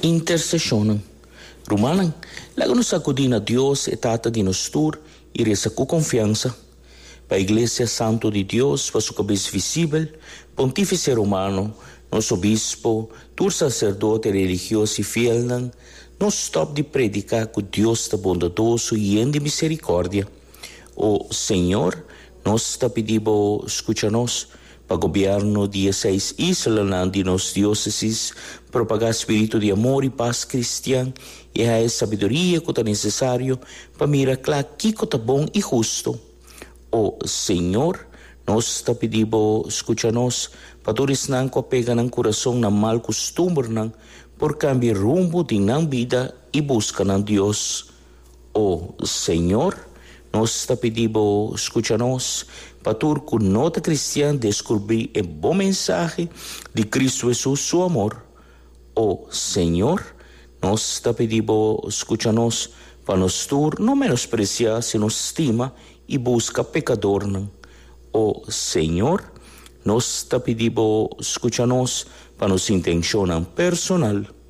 Interseshonnan. Rumannan, laga nos akudí na Dios, e Tata di nos tur, i resa ku konfiansa. Pa Iglesia Santu di Dios, pa su kabes visibel, Pontífise Romano, nos obispo, tur saserdote, religios i fielnan, no stòp di prediká ku Dios ta bondadoso i yen di miserikòrdia. O Señor, nos ta pidi Bo skucha nos. Pa gobièrnu di e seis islanan di nos diósesis propagá spiritu di amor i pas kristian i haña e sabiduria ku ta nesesario pa mira kla kiko ta bon i hustu. O Señor, nos ta pidi Bo skucha nos, pa tur esnan ku a pega nan kurason na mal kustumbernan por kambia rumbo di nan bida i buska nan Dios. O Señor, nos ta pidi Bo scucha nos, pa tur cu no ta cristian descubri e bon mensahe di Cristo Jesus su amor. O Señor, nos ta pidi Bo scucha nos, pa nos tur no menosprecia sino stima y busca pecadornan. O Señor, nos ta pidi Bo scucha nos, pa nos intencionnan personal.